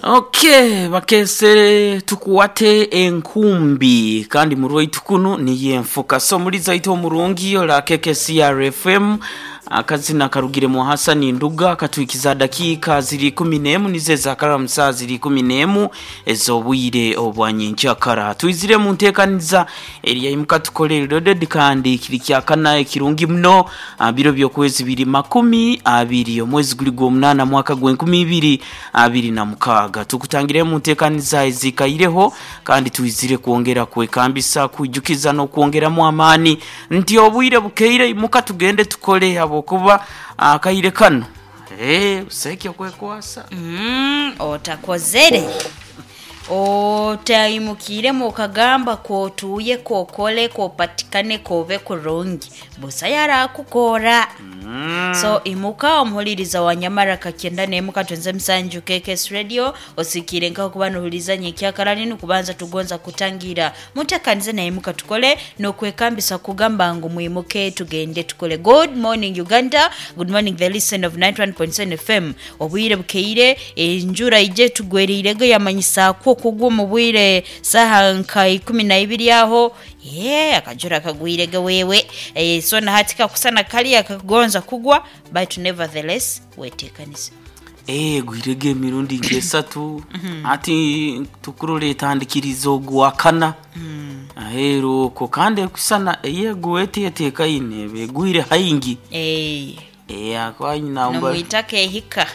Okay, bakesere tukuwate enkumbi kandi murwaitu kunu niyo enfuka. So muliza itu omurungi ola KKCR FM, akazina karugire mu Hasani Nduga katwikiza dakika ziri 11 nize zakara saa ziri 11 ez'obwire obwanyenkyakara. Twizire mu nteekaniza eriyaimuka tukole loaded kandi kiri kyakana ekirungi muno, biro by'okwezi biri 20 omwezi guli gw'omunaana mwaka gw'e2026. Tukutangire mu nteekaniza ezikaireho kandi twizire kwongera kwekambisa, kwijukiza n'okwongeramu amaani nti obwire bukeire, imuka tugende tukole habwokuba akaire kano busaiki okwekwasa. Otakozere otaimukiiremu okagamba kootuuye kookole koopatikane koobe kurungi, busa yarakukora. So imuka omuhuliriza wa Nyamara kakyenda n'emu katwenze musanju KKS Radio, osikiire nkaho kuba nohuliriza nyenkyakara ninu kubanza tugonza kutangira mutekanize naye imuka tukole n'okwekambisa kugamba ngu mwimuke tugende tukole. Good morning Uganda, good morning the listen of 91.7 FM. Obwire bukeire, enjura ije tugwereirego yamanyisaakwo okugwa omu bwire saha nka 12 aho ye akajura kagwirege wewe. So na hati kakusana kaliya kakugonza kugwa, but nevertheless weteekanize. Gwirege emirundi nk'esatu ati tukurora etandikiriza ogwakana aheeru okwo kandi ekusana eyeguwa eteetekaine eba egwire haingi. Akwanyina nomwitaka ehika.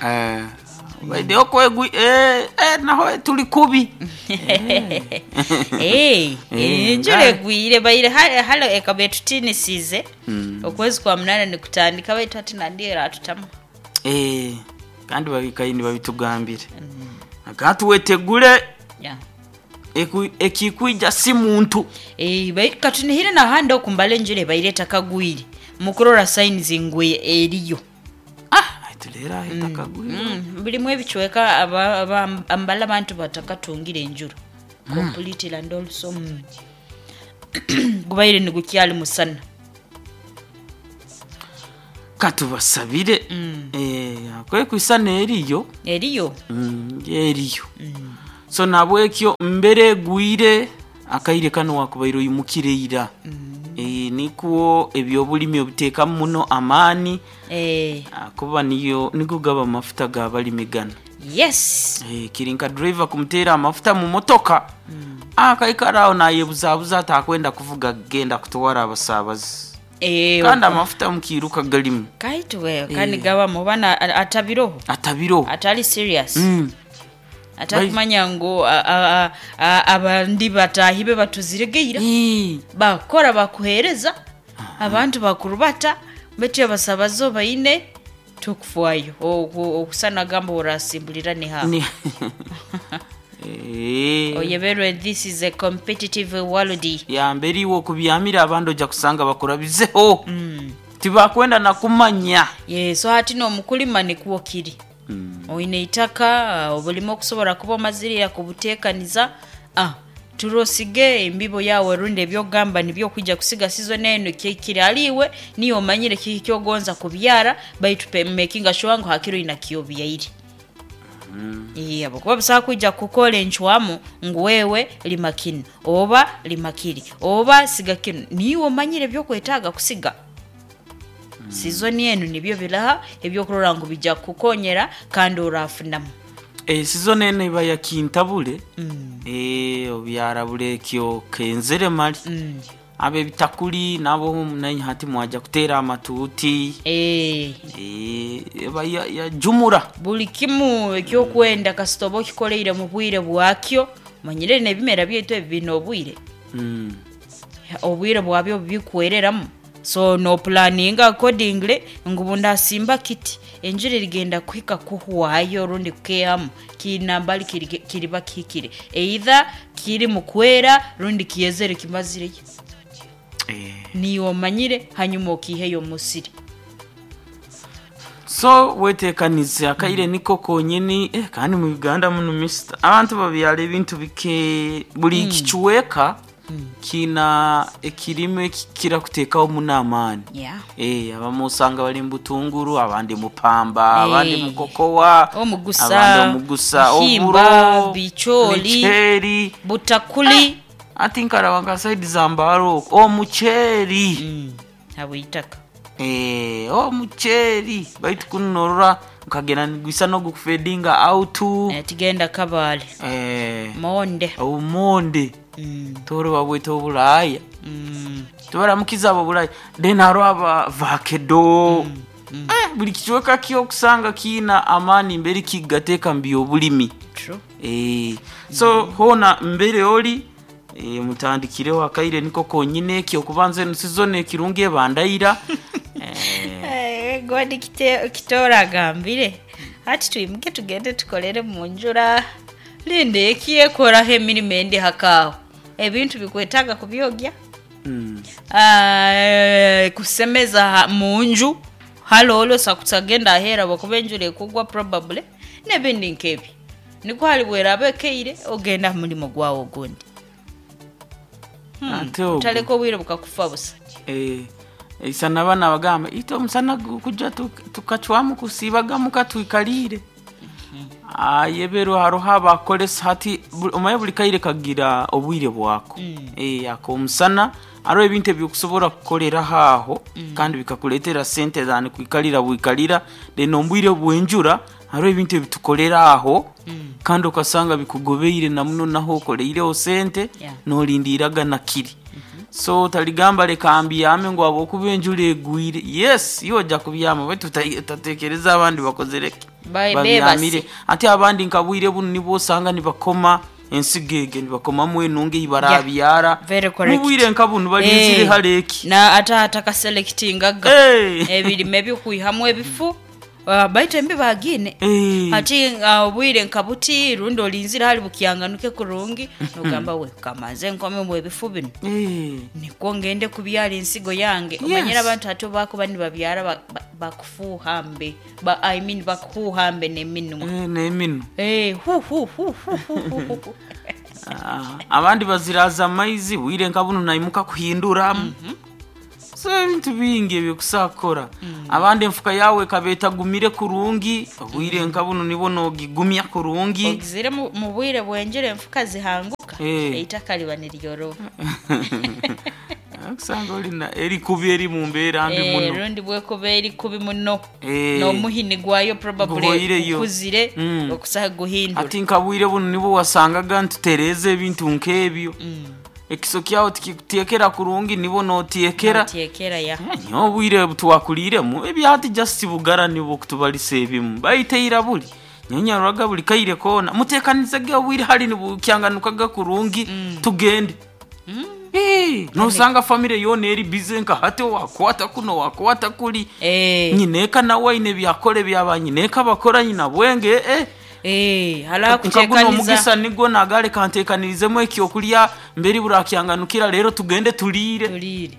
Baide okwegwi naho tuli kubi. Enjura egwire baire hale ekaba etutinisize okwezi kwa munana nikutandika, baitu hati nandi eratutamu. Kandi babikaini babitugambire akatuwetegule. Ekikwija si muntu. Baitu katunihire nahandi okumbala enjura ebaire etakagwire mukurora signs ngu eriyo. Tulera etakagwire. Birimu ebicweka ambala abantu batakatungire enjura completely and also gubaire nigukyali musana. Katubasabire kwekwisana eriyo. Eriyo. Eriyo. So nabwekyo mbere egwire akaire kano wakubaire oimukire ira. Nikwo ebyobulimi obiteekamu muno amaani kuba niyo nigo gaba amafuta g'abalimi gano. Kiri nka driver kumuteera amafuta mu motoka, akaikara aho nayebuzabuza atakwenda kuvuga genda kutwara abasaabazi kandi amafuta mukiiruka galimu. Kaitu wewe kandi gabamu bana atabiroho. Atabiroho. Atali serious. Atakumanya ngu abandi bataahi be batuziregeira bakora bakuheereza abantu bakurubata baitu abasabazo baine tukufwayo okusana gamba orasimbulira ni ha oyeberwe. This is a competitive world. Yambere iwe okubyamira abandi ojja kusanga bakurabizeho, tibakwenda nakumanya. Ye, so hati n'omukulima nikwo kiri, oine itaka, obulimi okusobora kuba omazirira kubuteekaniza, turosige embibo yawe rundi ebyogamba nibyo okwijja kusiga season eno kiri aliiwe niyo omanyire kiki kyogonza kubyara, baitu making sure ngu hakiro oina kyobyaire. Habwokuba busaho kwija kukora encwamu ngu wewe lima kinu oba lima kiri oba siga kinu, niiwe omanyire ebyokwetaaga kusiga season enu, nibyo biraha ebyokurora ngu bijja kukukonyera kandi orafunamu. Season eno eba yakintabule. Obyara bulekyo kenzere mali abebitakuli nabo nanye hati mwaja kuteera amatuuti. Eba yajumura. Buli kimu ekyokwenda kasita oba okikoleire mu bwire bwakyo, omanyire n'ebimera byaitu ebi biine obwire, obwire bwabyo bikwereramu, so nopulaninga accordingly ngu bundasimba kiti enjura erigenda kuhika kuhwayo rundi kukehamu kinambali kiriba kihikire, either kiri mu kwera rundi kyezere kimazireyo. Niiwe omanyire hanyuma okiiheyo omu musiri. So wetekanize akaire niko konyini. Kandi mu Uganda muno mister abantu babyara ebintu bike buli kicweka. Kiina ekirime ekikira kuteekaho muno amaani. Yeah. Abamu osanga bali mu butunguru, abandi mu pamba, abandi mu Eh. kokowa, Omugusa, abandi omugusa, bihimba, oburo, bichooli. micheeri. Butakuli. Ati nkaraba nka saidi za Mbale okwo omuceeri. Habwitaka. Omuceeri baitu kunu norora nkagenda nigwisa n'ogukufedinga out. Tigenda Kabale. Monde. Obumonde. Toro babweta obulaya. Tubaramukiza abo bulaya. Then hariho aba vakedo. Buli kicweka kyokusanga kiina amaani mbere kigateeka mu byobulimi. True. So hoona mbere ori mutandikireho akaire niko konyine ekyokubanza enu season ekirungi ebandaira. Godi Kitora agambire ati twimuke tugende tukolere mu njura, linda ekyekoraho emirimo endi hakaaho ebintu bikwetaaga kubyogya. Kusemeza munju halolo sakusagenda ahera bwakuba enjura ekugwa probably n'ebindi nk'ebyo nikwo hali bweraba ekeire ogenda aha mulimo gwawe ogundi. Ate ogwo. Otaleka obwire bukakufa busa. Isana abana bagamba ite omusana gukujja tukacwamu kusiibagamu katwikalire. Ayebero haroho abakolesa hati omaye buli kaire kagira obwire bwako. Ako omusana hariho ebintu ebyokusobora kukoleraho aho kandi bikakuleetera sente zani kwikalira bwikalira. Then omu bwire bw'enjura hariho ebintu ebitukolera aho kandi okasanga bikugobeire na muno naho okoleireho sente nolindiiraga nakiri. So otaligamba leka mbyame ngu habwokuba enjura egwire. Yes, iwe ojja kubyama baitu otatekereza abandi bakozere ki? Babyamire. Bebase. Ate abandi nka bwire bunu nibwo osanga nibakoma ensigo ege nibakomamu enunga ei barabyara. Very correct. Mubwire nka bunu balinzire hare eki. Na ata atakaselectingaga ebirime byokwihamu ebifu, baitu embi bagine. Hati obwire nka buti rundi olinzire hali bukyanganuke kurungi nogamba we kamanze nkomemu ebifu bino. Nikwo ngende kubyara ensigo yange. Omanyire abantu hati bakuba nibabyara bakufuuha mbe I mean bakuhuuha mbe n'eminwa. N'eminwa. Hu hu hu hu hu hu hu. Abandi baziraza amaizi bwire nka bunu naimuka kuhinduramu. So ebintu bingi ebyokusobola kukora. Abandi enfuka yawe ekaba etagumire kurungi, obwire nka bunu nibwo nogigumya kurungi. Ogizire mu bwire bwenjura enfuka zihanguka eitaka liba niryoroba. Okusanga olina erikubi eri mu mbeera mbi muno. Rundi bwekuba eri kubi muno n'omuhini gwayo probably Guhoireyo. gukuzire okusaha guhindura. Ati nka bwire bunu nibwo wasangaga nitutereeza ebintu nk'ebyo. Ekiso kyawe tikikuteekera kurungi nibwo noteekera. Noteekera ya. Nyowe obwire twakuliiremu ebyati just bugara nibwo kutubalisa ebimu baiteira buli nyonyaroraga buli kaire koona muteekanizege obwire hali nibukyanganukaga kurungi tugende. Nosanga famire yoona eri busy nka hati wakwata kuno wakwata kuli. Nyineeka nawe aine ebyakora ebyaba nyineeka bakora nyina bwenge. Hali Nka guno akuteekaniza. omugisa nigwo nagale kanteekanirizemu ekyokulya mberi burakyanganukira rero tugende tuliire. Tuliire.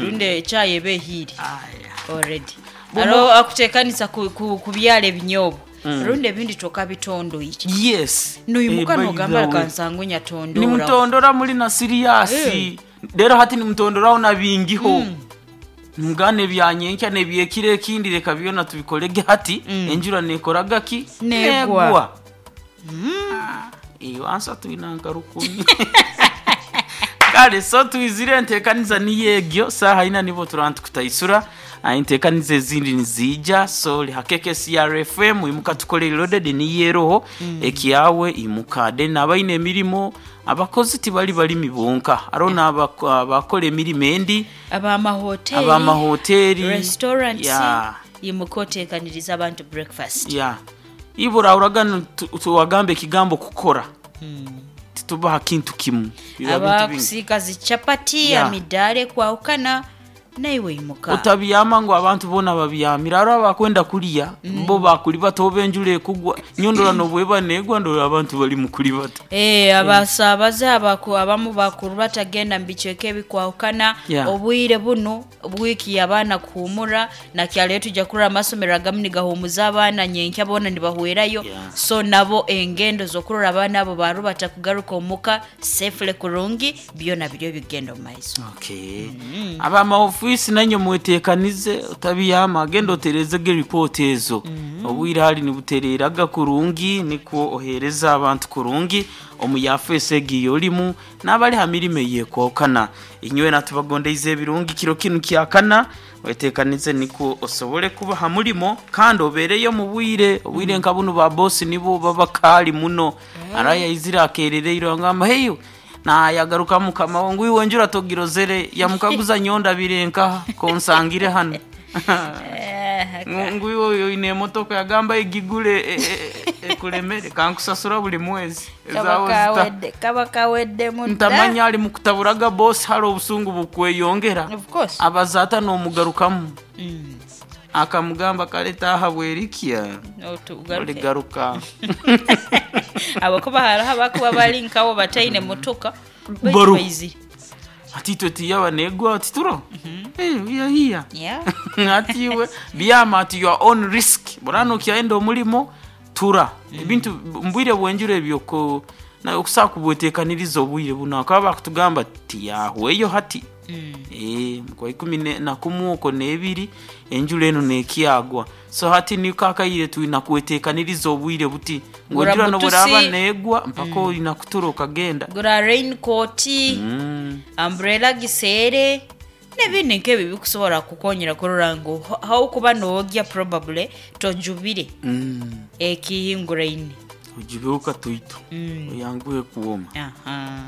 Rundi echayi eba ehiire Aya. already. Bumu- Hariho akuteekanisa kubyara ebinyoobwa rundi ebindi tokabitondoire. Yes. Noimuka By nogamba the way. kansangwe nyatondora. Nimutondora muri na siriyasi. Rero hati nimutondoraho na bingiho. Mugane ebyanyenkya nebyekiro ekindi reka byona tubikolege hati enjura nekoraga ki? Negwa. Wansa twina nka 10. Kale so twizire enteekaniza niyo egyo saaha ina nibo turaba nitukutaisura. Enteekaniza ezindi niziija so lihakeke CRFM imuka tukole loaded niyo eroho ekyawe imuka. Then abaine emirimo abakozi tibali balimi bonka hariho n'abakora emirimo endi Abamahoteri, abamahoteri, restaurants imuka oteekaniriza abantu breakfast. Ibura uraga tuwagambe ekigambo kukora. Titubaha kintu kimu. Biba bintu bingi. Abakusiika zichapati, amidaara ekwahukana. Naiwe imuka. Otabyama ngu abantu boona babyamire. Hariho abakwenda kulya bo bakulibata oba enjura ekugwa. Nyowe ndora nobweba negwa ndora abantu bali mukulibata. Eh, abasaabaze abaku, abamu bakurubata genda mu bicweka ebikwahukana. Obwire bunu wiiki y'abaana kuhuumura, nakyaleero twija kurora amasomero agamu nigahuumuza abaana nyenkya boona nibahwerayo. So nabo engendo z'okurora abaana abo barubata kugaruka omuka safely kurungi, byona biriyo bigenda omu maiso. Okay. Ab'amaofiisi nainywe mweteekanize otabyama, genda otereezege ripooti ezo. Obwire hali nibutereeraga kurungi nikwo oheereze abantu kurungi omu yafeesi egi ey'orimu n'abali ha mirimo eyekwahukana. Inywena tubagondeize ebirungi kiro kinu kyakana, weteekanize nikwo osobole kuba ha murimo kandi obeereyo omu bwire. Obwire nka bunu ba bosi nibo baba kaali muno. Hariho ayaizire akeerereirwe yangamba heiwe, nayagarukamu mukama we ngu iwe enjura togirozere, yamukaguza nyowe ndabire nkaha konsangire hanu. Ngu iwe oine emotoka, yagamba egigure ekulemere kankusasura buli mwezi. Kaba kawedde, kaba kaweddemu dda. Ntamanya ali mukutaburaga bosi hali obusungu bukweyongera. Of course. Abaza ata n'omugarukamu. Akamugamba kale taaha bwerikya oligaruka. Habwokuba hariho abakuba bari nkawe bataine motoka baitu Baru. baizire. Ati itwe tiyaba negwa ati turo. Eh, we are here. Ati iwe byama at your own risk. Burano okyaenda omulimo tura. Ebintu mbwire bwenjura ebyo ko na okusobola kubwetekaniriza obwire buno bakaba bakutugamba tiyahweyo hati. Eh, kwa ikumi na kumu okwo n'ebiri enjura enu nekyagwa. So hati niko akaire twina kwetekaniriza obwire buti ngu Gura enjura mutusi. nobweraba negwa mpaka oina kutura okagenda. Gura raincoat, umbrella giseere n'ebindi nk'ebyo ebikusobola kukukonyera kurora ngu haukuba noogya probably tojubire ekihinguraine. Ojibeho katoito oyanguhe kwoma. Aha.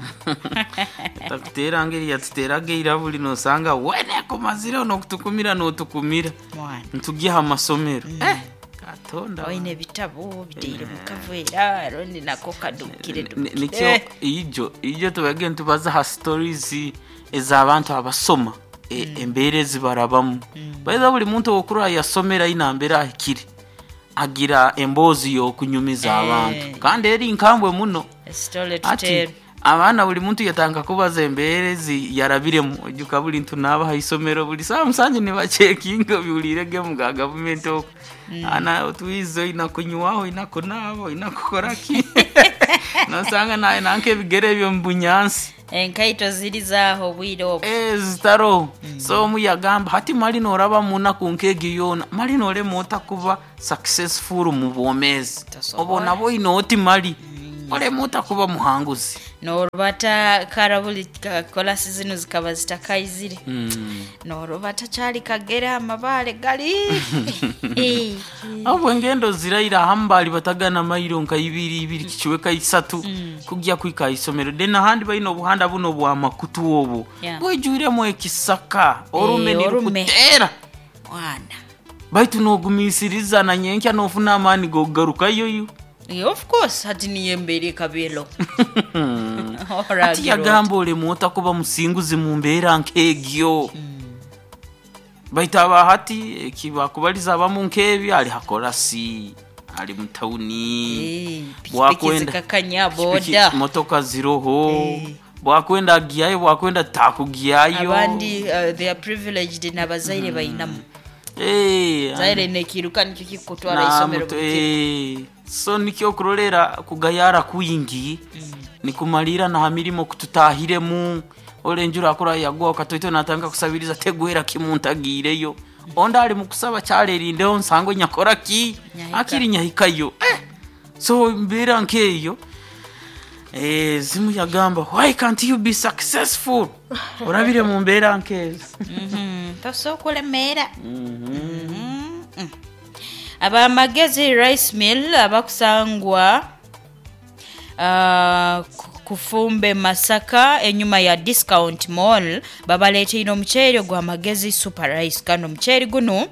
Takuteera ngeri yatuteraga ira buli nosanga wene akomazireho n'okutukumira n'otukumira. Mwana. Ntugye ha masomero. Eh, Katonda. Oine ebitabo biteire mu kaveera rundi nako kadukire dukire. Nikyo ijo ijo tubage nitubaza ha stories ez'abantu abasoma embeera ezibarabamu. By the way, buli muntu okurora yasomera aine mbeera ahikire agira emboozi y'okunyumiza abantu kandi eri nkambwe muno. Story to Ati tell. abaana buli muntu yatandika kubaza embeera ezi yarabiremu. Oijuka buli ntunaaba ha isomero buli saaha musanju nibacekinga obihuliire gemu ga gavumenti oku. Ana otwize oina kunywaho, oina kunaaba, oina kukora ki. Nosanga nawe nanka ebigere ebyo omu bunyansi. Enkaito ziri zaaho obwire obwo. Eh, zitaroho. So omu yagamba hati mali noraba munaku nk'egyo yoona, mali norema ota kuba successful mu bwomeezi. Tosobola. Obo nabo oine oti mali orema ota kuba muhanguzi. Norubata kara buli kolasi zinu zikaba zitakaizire. Norubata kyali kagere amabaale gali. Ahubwo engendo ziraira ahamu baali batagana mairo nka ibiri ibiri kicweka isatu kugya kwika isomero. Then ahandi baine obuhanda buno bwa makutu obu bwijwiremu ekisaka orume Orume. nirukutera. Mwana. Baitu nogumisiriza na nyenkya nofuna amaani gokugarukayo yo. Yeah, of course hati niyo embeera ekabeero. Hati yagamba olemu otakuba musinguzi mu mbeera nk'egyo. Baitu aba hati ekibakubaliza abamu nk'ebyo ali hakorasi ali mu tawuni Pikipiki bwakwenda zikakanya pikipiki, boda. motoka ziroho bwakwenda agyayo bwakwenda takugyayo. Abandi they are privileged n'abazaire bainamu. Zaire nekiruka nikyo kikutwara isomero buli kiro. So nikyo okurolera kugayara kwingi nikumalira na ha mirimo kututahiremu ole enjura akura yagwa okatoito natanga kusabiriza tegwera kimuntagiireyo ondi ali mukusaba kyalerindeho nsango nyakora ki Nyahika. akiri nyahikayo so mbeera nkeeyo zimu yagamba why can't you be successful orabire mu mbeera nkeezo. Tosobola kulemeera. Abamagezi rice mill abakusangwa kufumbe Masaka enyuma ya Discount Mall babaleeteire omuceeri ogw'amagezi super rice. Kandi omuceeri guno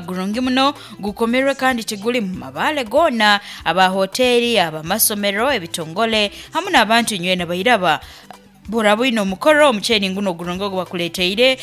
gurungi muno gukomerwe kandi tiguli mu mabaale goona. Aba hoteri, abamasomero, ebitongole hamu n'abantu nywena bairaba. Buraba oine omukoro, omuceeri nguno ogurungi ogu bakuleeteire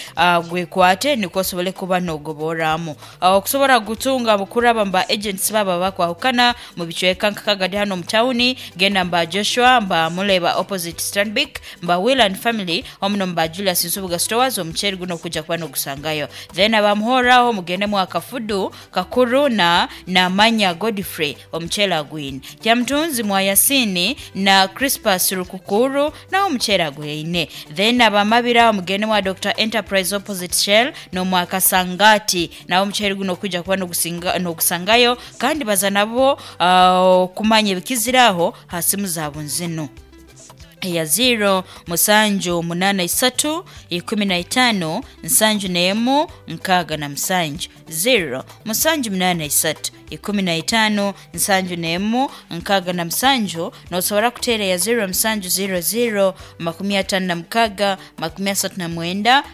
gwekwate nikwo osobole kuba nogoborramu. Okusobora kugutunga kuraba mu ba agents baabo abakwahukana mu bicweka nka Kagadi hanu omu tawuni, genda mu ba Joshua, mba Muleba opposite Stanbic, mba Will and Family omu n'omu ba Julius Nsubuga Stores omuceeri guno okuja kuba nogusangayo. Then aba Muhorro aho mugende mwa Kafudu Kakuru na Namanya Godfrey omuceeri agwine. Kyamutunzi mwa Yasini na Crispus Rukukuru naho omuceeri agwine. Then aba Mabira mugende mwa Dokita Enterprise opposite Shell n'omwa Kasangati naho omuceeri guno okwija kuba nogusangayo kandi baza nabo okumanya ebikizire aho ha simu zaabo nzinu eya ziiro musanju munaana isatu ikumi na itaano nsanju n'emu nkaaga na musanju, ziiro musanju munaana isatu 15 71 67. N'osobora kuteera eya ziiro musanju ziiro ziiro 56 39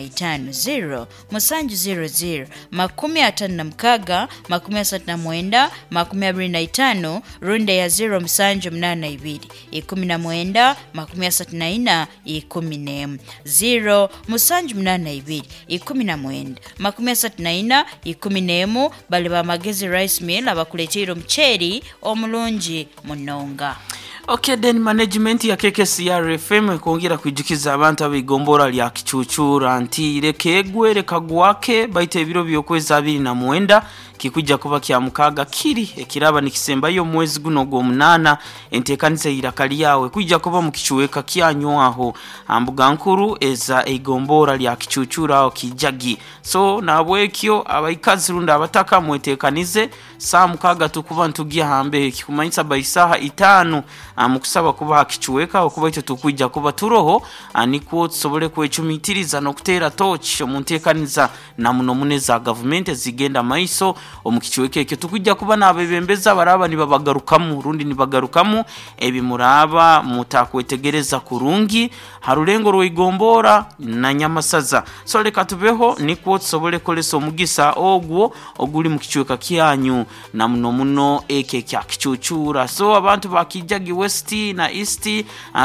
25, ziiro musanju ziiro ziiro 56 39 25, rundi eya ziiro musanju munaana ibiri 19 34 11, ziiro musanju munaana ibiri 19 34 11. Bali ba Magezi Rice Mill abakuleteire omuceeri omurungi munonga. Okay, then management ya KKCR FM ekwongera kwijukiza abantu ab'igombora lya Kicucura nti reka egwe reka gwake, baitu ebiro by'okwezi 29 kikujja kuba kya mukaaga kiri ekiraba nikisembayo omwezi guno ogw'omunaana. Enteekaniza eiraka lyawe kwijja kuba mu kicuweka kyanywaho mbuga nkuru eza eigombora lya Kicucura aho Kijagi. So nabwekyo abaikazi rundi abataka mweteekanize saa mukaaga tukuba ntugya hambehe, kikumanyisa by saaha 5 mukusaba kuba hakicuweka okuba itwe tukwija kuba turoho, nikwo tusobole kwecumitiriza n'okuteera tochi omu nteekaniza na muno muno eza gavumenti ezigenda maiso omu kicuweka ekyo. Tukujja kuba n'abebembezi abaraba nibabagarukamu rundi nibagarukamu ebi muraba mutakwetegereza kurungi ha rulengo rw'igombora na Nyamasaza. So reka tubeho nikwo tusobole kukolesa omugisa ogwo oguli mu kicuweka kyanyu na muno muno ekyo ekya Kicucura. So abantu ba Kijagi West na East,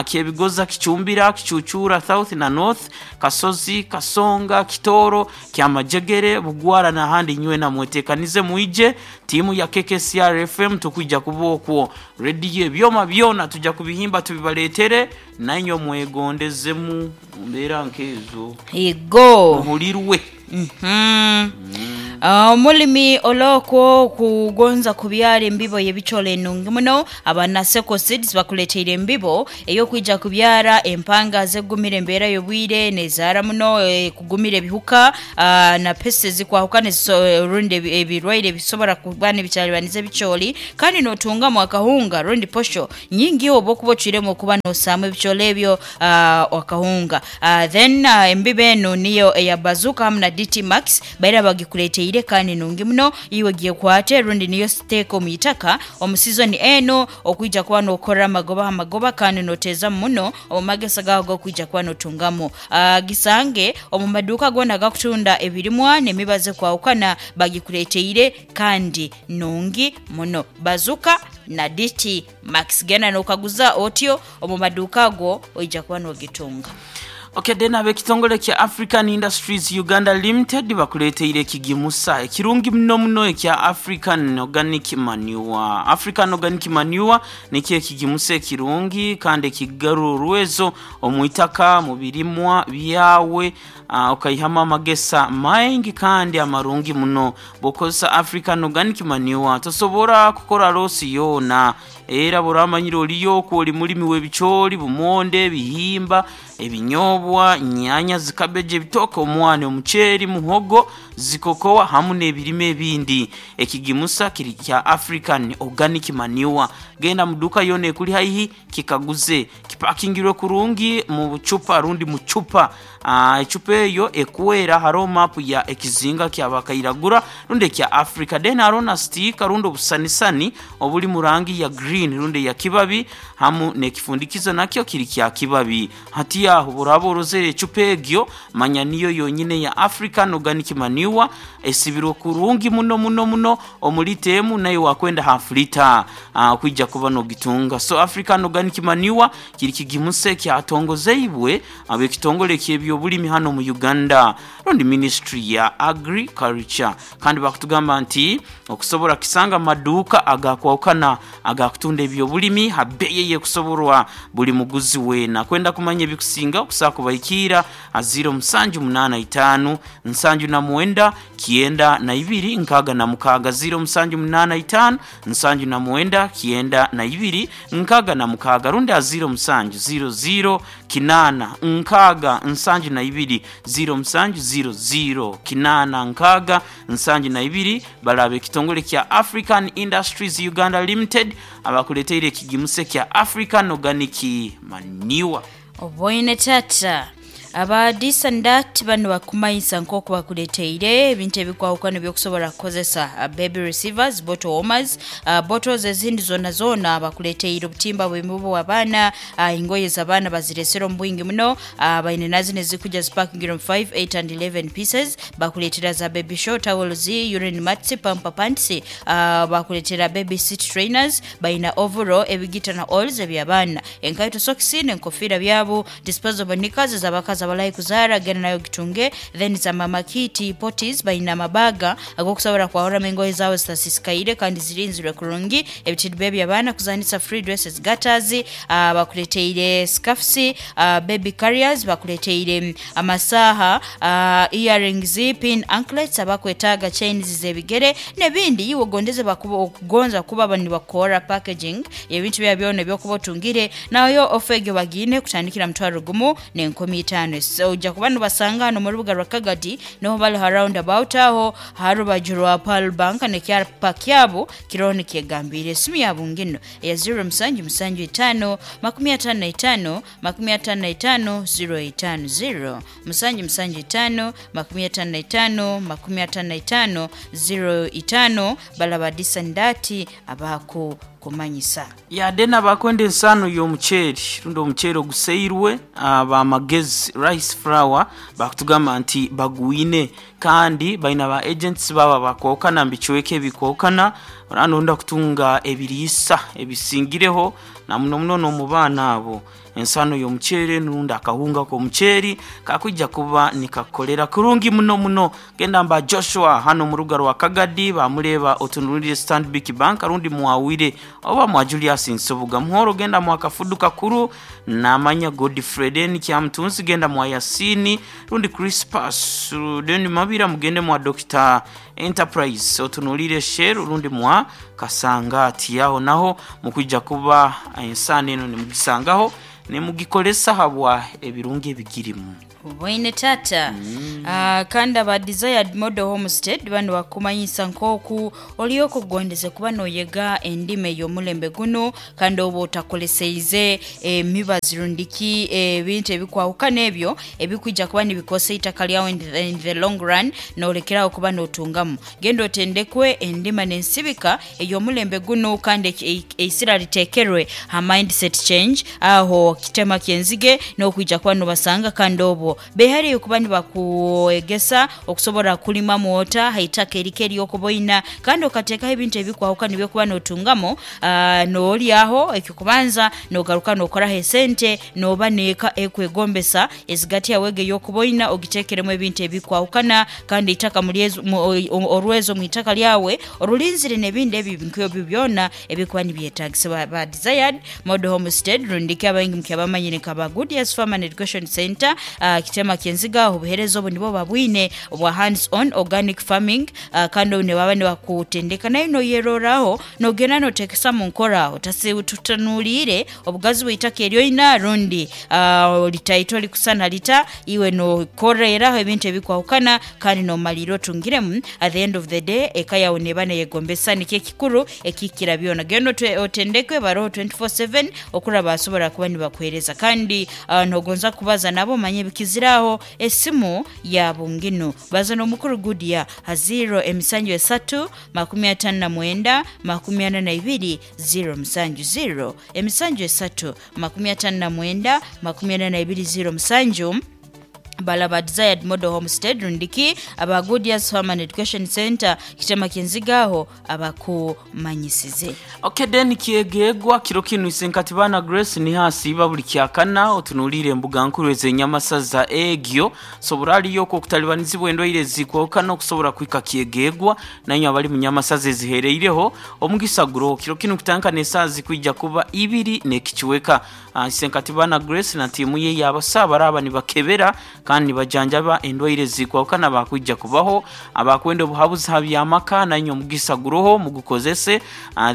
Kyebigoza, Kicumbira, Kicucura South na North, Kasozi, Kasonga, Kitoro, Kyamajegere, Bugwara n'ahandi, nywena mwetekanize mwije tiimu ya KKCR FM tukwija kuba okwo rediyo ebyoma byona tujja kubihimba tubibaleetere nainywe mwegondezemu mu mbeera nk'ezo. Igo muhulirwe. Omulimi olwokwo kugonza kubyara embibo y'ebicoolo enungi muno, aba Naseko Seeds bakuleteire embibo ey'okwija kubyara empanga zegumira embeera y'obwire nezaara muno, kugumira ebihuka na pesti ezikwahukana rundi ebirwaire ebisobora kuba nibikyaribaniza ebicooli, kandi notungamu akahunga rundi posho nyingi oba okuba ocwiremu okuba nosaamu ebicooli ebyo akahunga. Then embibo enu niyo eya Bazooka hamu na DT Max baira bagikuleteire kandi nungi muno, iwe gyekwate rundi niyo siteeka omu itaka omu sizoni eno okwija kuba nokora amagoba ha magoba kandi noteezamu muno omu magesa gawe ag'okwija kuba notungamu. Gisange omu maduuka goona agakutunda ebirimwa n'emibazi ekwahukana, bagikuleteire kandi nungi muno, Bazooka na DT Max. Genda nokaguza otyo omu maduuka ago oija kuba nogitunga. Okay, then ab'ekitongole kya African Industries Uganda Limited bakuleteire ekigimusa ekirungi muno muno ekya African Organic Manure. African Organic Manure nikyo ekigimusa ekirungi kandi ekigarura orwezo omu itaka mu birimwa byawe, okaihamu amagesa maingi kandi amarungi muno. Bw'okozesa African Organic Manure tosobora kukora losi yoona, era bw'oramanyire oliyo okwo oli mulimi w'ebicooli, bumonde, ebihimba, ebinyobwa, nyanya, zikabeji, ebitooke, omwani, omuceeri, muhogo, zikokoa hamu n'ebirime ebindi. Ekigimusa kiri kya African Organic Manure. Genda mu duuka yoona ekuli haihi kikaguze, kipakingirwe kurungi mu bucupa rundi mu cupa. Ecupa eyo ekwera hariho mapu ya ekizinga kya bakairagura rundi ekya Africa, then hariho na stiika rundi obusanisani obuli mu rangi ya green rundi eya kibabi, hamu n'ekifundikizo nakyo kiri kya kibabi. Hati aho buraba Orozere ecupa egyo, manya niyo yonyine ya African Organic Manure, esibirwe kurungi muno muno muno omulita emu, naye wakwenda half liter kwija kuba nogitunga. So African Organic Manure kiri kigimuse kyatongozeibwe ab'ekitongole ky'ebyobulimi hano mu Uganda, rundi ministry ya agriculture. Kandi bakutugamba nti okusobora kisanga maduuka agakwawukana agakutunda ebyobulimi habbeyi eyekusoborwa buli muguzi weena. Kwenda kumanya ebikusinga, okusobola kubahikiira ha 0785 79 92 66, 0785 79 92 66, rundi ha 0700 8 6 72, 0700 8 6 72. Balaba ekitongole kya African Industries Uganda Limited abakuleteire ekigimuse kya African Organic Manure. Oboine tata, aba Disandat bano bakumanyisa nk'oku bakuleteire ebintu ebikwawukana ebyokusobola kukozesa, baby receivers, bottle warmers, bottles ezindi zona zona. Bakuleteire obutimba bw'emibu abaana, engoye z'abaana baziresere omu bwingi muno. Baine nazo nezikuja zipakingire mu 5, 8 and 11 pieces. Bakuleetera za baby show towels, urine mats, pamper pants, bakuleetera baby seat trainers, baina overall ebigita na oils eby'abaana, enkaito, sokisi n'enkofiira byabo, disposable knickers z'abakazi abalahi kuzaara, genda nayo gitunge. Then za mama kiti potties, baina amabaga ag'okusobola kwahuramu engoye zawe zitasisikaire kandi zirinzirwe kurungi, ebitidiba eby'abaana kuzanisa, free dresses, gaiters, bakuleteire scarfs, baby carriers, bakuleteire amasaha, earrings, pin anklets, abakwetaaga chains z'ebigere n'ebindi. Iwe ogondeze okugonza kuba nibakora packaging ebintu bya byona ebyokuba otungire nayo ofa egyo bagiine kutandikira 1500. So ojja kuba nibasanga hano mu rubuga rwa Kagadi, niho bali ha roundabout aho ha rubaju rwa Pearl Bank, nekyapa kyabo kiroho nikyegambire. Esimu yabo ngino eya 0775 55 55 050, 775 55 55 05. Balaba Disandati abako kumanyisa. Yadde nabakwenda ensano y'omuceeri rundi omuceeri oguseirwe, bamagezi rice flour bakutugamba nti bagwine, kandi baina ba agents baba bakwokana mubicweka ebikwokana. Oranda kutunga ebiriisa ebisingireho na muno muno n'omu baana abo, ensano y'omuceeri rundi akahunga k'omuceeri kakwija kuba nikakukolera kurungi muno muno. Genda mba Joshua hano mu ruga rwa Kagadi, bamureba otunulire Stanbic Bank, rundi mwawire oba mwa Julius Nsubuga Muhoro. Genda mwa Kafudu Kakuru namanya Godfrey den Kyamutunzi, genda mwa Yasini rundi Crispas den Mabira, mugende mwa Dr Enterprise otunulire Shell rundi mwa Kasangati, yaho naho mukwija kuba ensano eno nimugisangaho nimugikolesa habwa ebirungi ebigirimu. Bwine tata. Kandi aba Desired Model Homestead bano bakumanyisa nk'oku oliyo okugondeze kuba noyega endimi ey'omulembe guno, kandi oba otakoleseize emibazi rundiki ebintu ebikwawukana ebyo ebikwija kuba nibikosa eitaka lyawe in the long run, nolekerawo kuba notungamu. Genda otendekwe endima n'ensibika ey'omulembe guno, kandi eisira litekerwe ha mindset change. Aho kitema kyenzige n'okwija kuba nobasanga, kandi obwo behariyo kuba nibakuegesa okusobola kulima mwota haitaka erike eryokuboina, kandi okateekaho ebintu ebikwawukana ebyokuba notungamo, noolyaho ekyokubanza, nogaruka nokoraho esente, noba neeka ekwegombesa ezigati yawe ege ey'okuboina ogiteekeremu ebintu ebikwawukana, kandi eitaka orwezo mu itaka lyawe orulinzire n'ebindi ebyo nk'ebyo byona ebikuba nibyetagisibwa. Ba Desired Model Homestead rundiki abaingi mukyabamanyire nka ba Goodyears Farm and Education Center, kitema kyenziga, obuhereza obu nibo babwine obwa hands on organic farming, kandi obu nibaba nibakutendeka nayo noyeroraho nogenda notekesa mu nkora, tutanuliire obugazi bw'eitaka eryoina rundi litaito likusana lita, iwe nokoreraho ebintu ebikwahukana kandi nomalira otungiremu. At the end of the day eka yawe neba neyegombesa, nikyo ekikuru ekikira byona. Genda otendekwe, baroho 24/7 okuraba basobora kuba nibakuhereza, kandi nogonza kubaza nabo manye ebikizi. Ziraho esimu ya bunginu baza n'omukuru Gudia ha 0 emisanju 3 59 42 0 musanju 0 emisanju 3 59 42 0 musanju. Balaba Desired Model Homestead rundiki aba Goodias Farm and Education Center kitema kinzigaho abakumanyisize. Okay, then kiegegwa kiro kinu isenkatibana Grace ni hasiba buli kyakana otunulire embuga nkuru ez'enyamasaza egyo sobora aliyo ko kutalibanizibwa endwaire zikwokana okusobora kwika kiegegwa nanyo abali mu nyamasaza ezihereireho omugisa guro kiro kinu kutanka n'esaazi kwijja kuba ibiri n'ekikiweka. Isenkatibana Grace na tiimu ye yabasaba araba nibakebera kandi nibajanjaba endwaire zikwawukana bakwijja kubaho abakwenda obuhabuzi ha byamaka nanyo omugisa guroho mugukozese.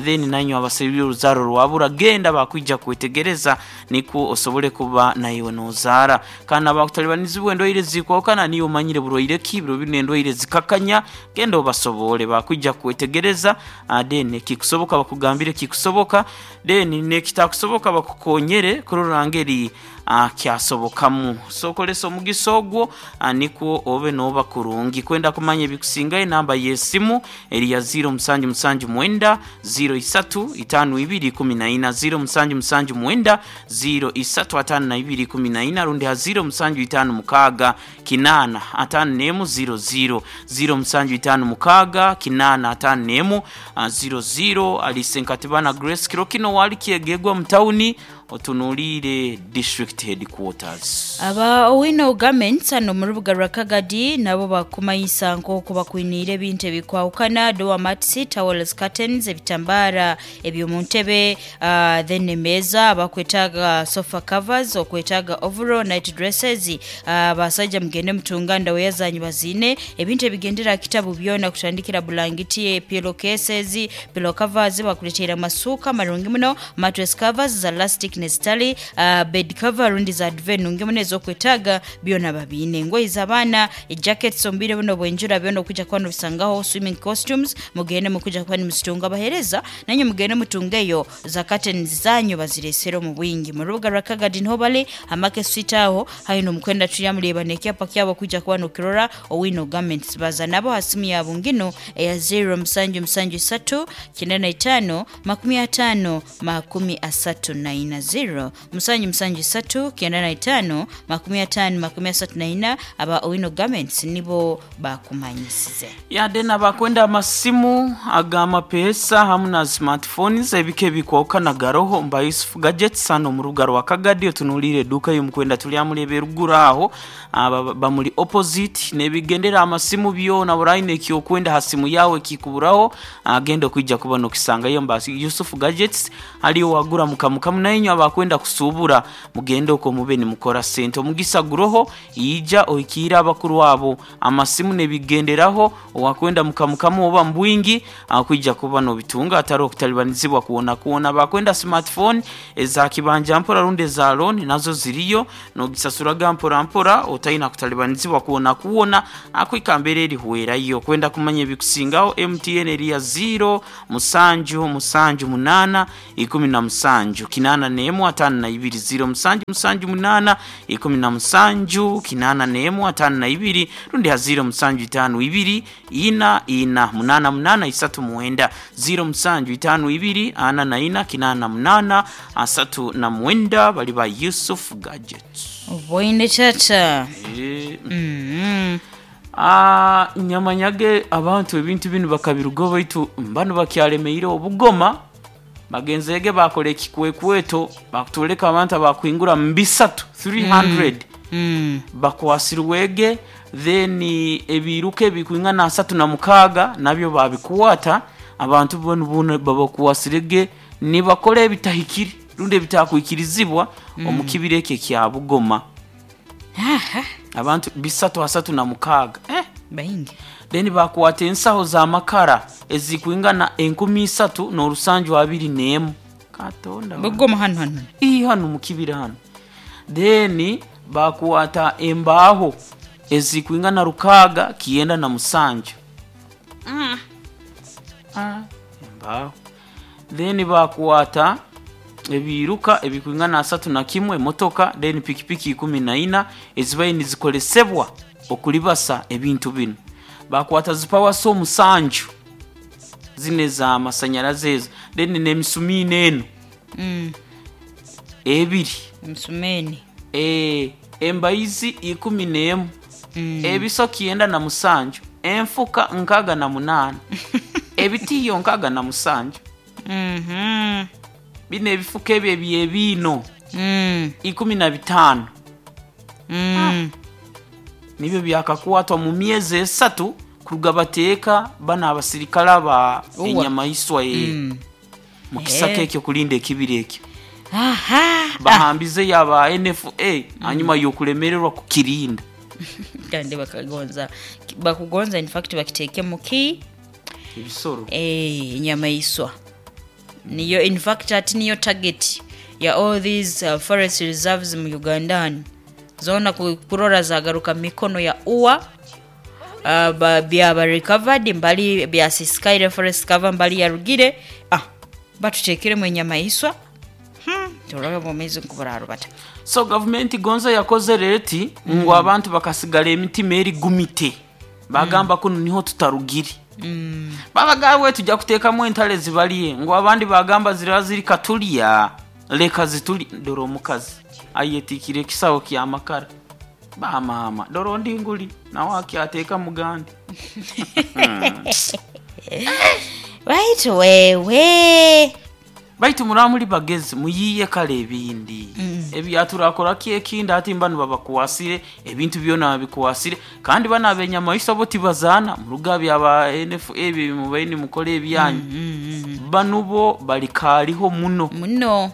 Then nanyo abasabire oruzaro rwabura genda bakwijja kwetegereza niko osobole kuba naiwe nozaara. Kandi abakutalibanizibwa endwaire zikwawukana niyo omanyire burwaire ki biro bino endwaire zikakanya genda obasobole bakwijja kwetegereza. Then kikusoboka bakugambire kikusoboka, then nekitakusoboka bakukonyere kurora ngeri kyasobokamu. So kolesa omugisa ogwo nikwo obe noba kurungi. Kwenda kumanya ebikusingayo enamba y'esimu eri ya 0 musanju musanju mwenda 0 isatu itano ibiri kumi na ina 0 musanju musanju mwenda 0 isatu atano na ibiri kumi na ina rundi ha 0 musanju itano mukaaga kinana atano n'emu 0 0 0 musanju itano mukaaga kinana atano n'emu 0 0. Alisenkatibana Grace kiro kino wali kiegegwa mu tawuni otunuulire district headquarters. Aba Owino Garments ano mu rubuga rwa Kagadi nabo bakumanyisa nk'oku bakwiniire ebintu ebikwawukana doormats, towels, curtains, ebitambara eby'omu ntebe, then emeeza, bakwetaaga sofa covers, okwetaaga overall night dresses. Basajja mugende mutunga ndaweya zanyu baziine ebintu ebigendera kitabu byona kutandikira bulangiti, pillow cases, pillow covers, bakuleteera amasuuka marungi muno, mattress covers za elastic nezitali, bed cover rundi za duvet nungi muno ezokwetaaga byona babiine, engoye z'abaana, jackets omu buno bwenjura byona okujja kuba nobisangaho, swimming costumes mugende mukujja kuba nimuzitunga bahereza nanyu mugende mutungeyo za curtains zanyu baziresere omu bwingi. Mu rubuga rwa Kagadi niho bali amake street aho haino mukwenda tuyamureba nekyapa kyabo kujja kuba nokirora Owino Garments. Baza nabo ha simu yabo ngino eya 0 musanju musanju 3 95 50 34 0 musanju musanju 3 95 50 34. Aba Owino Garments nibo bakumanyisize. Yade nabakwenda amasimu ag'amapeesa hamu na smartphones ebika ebikwawukana garoho mba Yusuf Gadgets hano mu rubuga rwa Kagadi otunuulire edduuka y'omukwenda tulyamuleba eruguru aho bamuli opposite n'ebigendera amasimu byona buraine ekyokwenda ha simu yawe kikuburaho agenda okwijja kuba nokisangayo mba Yusuf Gadgets aliyo wagura mukamukamu nainyo abakwenda kusuubura mugende okwo mube nimukora sente. Omugisa guroho ija ohikiire abakuru abo amasimu n'ebigenderaho owakwenda mukamukamu oba mbwingi akwijja kuba nobitunga atari okutalibanizibwa kuona kuona. Bakwenda smartphone eza kibanja mpora rundi eza loan nazo ziriyo nogisasuraga mpora mpora otaina kutalibanizibwa kuona kuona akwika mbere erihwerayo. Kwenda kumanya ebikusingaho MTN eri ya 0 musanju musanju munana ikumi na musanju kinana n'emu atano na ibiri 0 musanju musanju munana ikumi na musanju kinana n'emu atano na ibiri rundi ha 0 musanju itano ibiri ina ina munana munana isatu mwenda 0 musanju itano ibiri ana na ina kinana munana asatu na mwenda bali ba Yusuf Gadgets. Oboine chacha. Nyamanyage abantu ebintu binu bakabirugo baitu mbano bakyalemeire obugoma bagenzege bakola ekikwekweto bakutoleka abantu abakwingura mu bisatu 300 bakwasirwege then ebiruka ebikwingana asatu na mukaaga nabyo babikwata abantu bono bono babakwasirege nibakola ebitahikire rundi ebitakwikirizibwa omu kibira ekyo ekya Bugoma. Abantu bisatu asatu na mukaaga Baingi. Then bakwata ensaho z'amakara ezikwingana enkumi isatu n'orusanju abiri n'emu katonda wange. Bugoma hano hano. Ii hano mu kibira hano. Then bakwata embaaho ezikwingana rukaaga kiyenda na musanju. Embaaho. Then bakwata Ebiruka ebikwingana 31, emotoka, then pikipiki 14 ezibaire nizikolesebwa okulibasa ebintu binu. Bakwata zipawa so 7 zine za masanyalaze ezo, then n'emisumiini eno 2, Msumeni. Embaizi 11, ebiso 97, enfuka 68, ebitiyo 67. Bino ebifuka ebyo ebyebiino 15 nibyo byakakwatwa mu myezi 3 kuruga bateeka bano abasirikale aba Uwa. enyamaiswa mu kisaka ekyo kulinda ekibira ekyo. Bahambize yaba NFA hanyuma y'okulemererwa kukirinda. Kandi bakagonza bakugonza, in fact bakiteeke muki ebisoro. Enyamaiswa niyo, in fact ati niyo target ya all these forest reserves mu Uganda hano zona kurora zagaruka mu mikono ya uwa. Byaba recovered mbali byasisikaire forest cover mbali yarugire, batutekeremu enyamaiswa, turabe bwomezi nkuburarubata. So gavumenti gonza yakozere eti ngu abantu bakasigala emitima erigumite, bagamba kuno niho tutarugire. Babagabwe tujja kuteekamu entale zibalye, ngu abandi bagamba ziriba ziri katulya, leka zituli. Dora omukazi ayetikire ekisawo kyamakara, bamama dora ondi nguli nawe akyateeka mugandi. Right wewe. Baitu muraba muri bagezi muyiye kale ebindi ebyaturakoraki ekindi, ati mbanu babakwasire ebintu byona babikuwasire, kandi bano abenyamaiswa bo tibazaana muruga byaba NFA ebyo mubaire nimukora ebyanyu. Bano bo balikariho muno muno,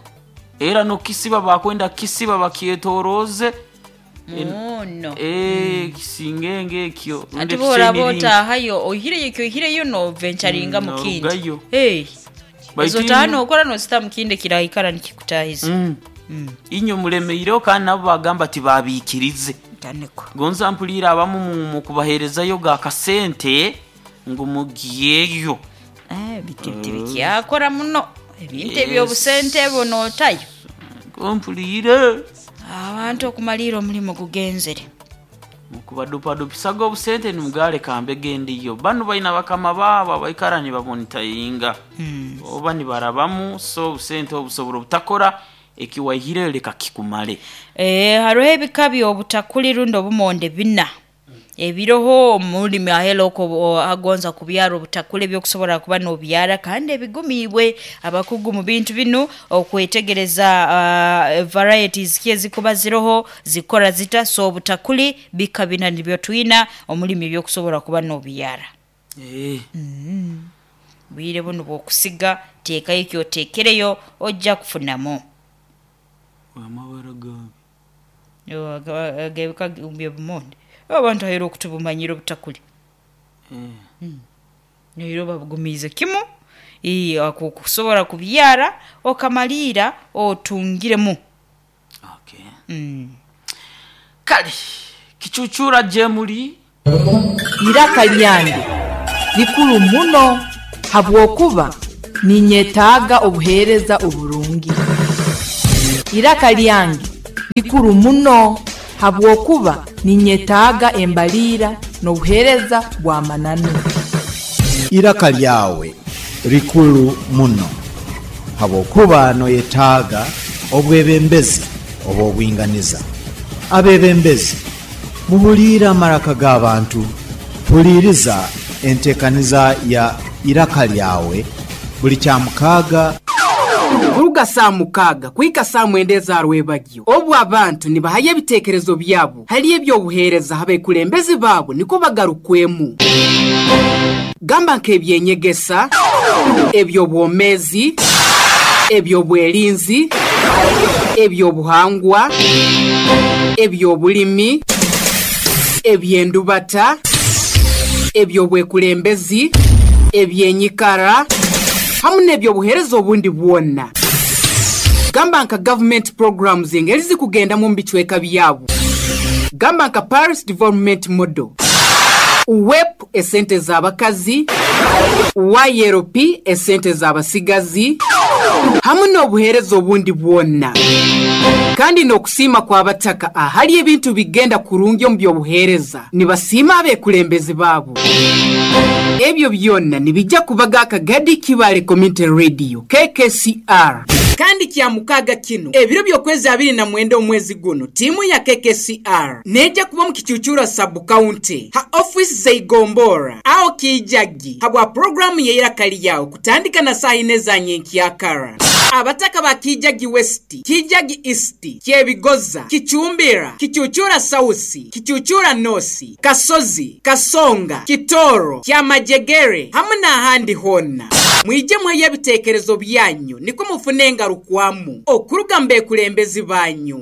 era nokisiba bakwenda kisiba bakyetoroze muno. Kisingenge ekyo rundi Ati boraba ekikyeniringi. Otahayo ohireyo kyohireyo no venturinga mu kindi. Norugayo. Hey. Baitu Ezo tano okora nosita mu kindi kirahikara nikikutahiza. Inyo mulemeireho kandi nabo bagamba tibabikirize. Taniko. Gonza mpulira abamu mu kubaherezayo ga kasente ngu mugiyeyo. Bitibiti bikyakora muno ebintu Yes. ebyobusente bunotayo. Mpulire Abantu okumalira omulimu gugenzere. Mukubadupadupisaga obusente nimugale kambege ndiyo bano balina bakama baabo abaikara nibamonitayinga oba nibarabamu, so obusente obusobola obutakora ekiwaihireyo leka kikumale. Hariho ebika by'obutakuli rundi obumonde bina ebiroho omulimi ahela oko agonza kubyara obutakuli ebyokusobola kuba nobyara kandi ebigumiibwe abakugu mu bintu binu okwetegereza varieties ki ezikuba ziroho zikora zita. So obutakuli bika bina nibyo twina omulimi ebyokusobola kuba nobyara. Bwire buno bwokusiga teekayo ekyoteekereyo ojja kufunamu. Amabara gabi. Agebika byobumonde abantu ahera okutubumanyira obutakuli. Nero babugumiize kimu kusobola kubyara okamaliira otungiremu. Okay. Kale kicucura jemuli. Iraka lyange likuru muno habwokuba ninyetaaga obuheereza oburungi. Iraka lyange likuru muno habwokuba ninyetaaga embaliira n'obuheereza bw'amananu. Iraka lyawe likulu muno habwokuba noyetaaga obwebembezi obw'obwinganiza. Abebembezi muhuliire amaraka g'abantu, huliiriza enteekaniza ya iraka lyawe buli kyamukaaga. Kuruga saa 6 kuhika saa 9 eza rwebagyo, obu abantu nibahayo ebiteekerezo byabo hali ebyobuheereza abekulembezi baabo niko bagarukwemu, gamba nk'ebyenyegesa, ebyobwomezi, ebyobwerinzi, ebyobuhangwa, ebyobulimi, ebyendubata, ebyobwekulembezi, ebyenyikara hamu n'ebyobuheereza obundi bwonna, gamba nka government programs engeri zikugendamu mu bicweka byabo, gamba nka Paris Development Model, WEP esente z'abakazi, YLP esente z'abasigazi. Hamu n'obuheereza obundi bwona. Kandi n'okusiima kw'abataka ahali ebintu bigenda kurungi omu by'obuheereza, nibasiima abeekulembezi baabo. Ebyo byona nibijja kubaga akagadi Kibale Community Radio, KKCR. Kandi Kyamukaaga kinu, ebiro by'okwezi 29 omwezi guno, tiimu ya KKCR neija kuba omu Kicucura Sub-County ha ofiisi z'Eigombora aho Kiijagi habwa puroguraamu y'eiraka lyawe kutandika na saaha ina eza nyenkyakara. Abataka ba Kiijagi West, Kiijagi East, Kyebigoza, Kicumbira, Kicucura South, Kicucura North, Kasozi, Kasonga, Kitooro, Kyamajegere hamu n'ahandi hoona. Mwije muheyo ebiteekerezo byanyu nikwo mufune engarukwamu okuruga mu beekulembezi banyu.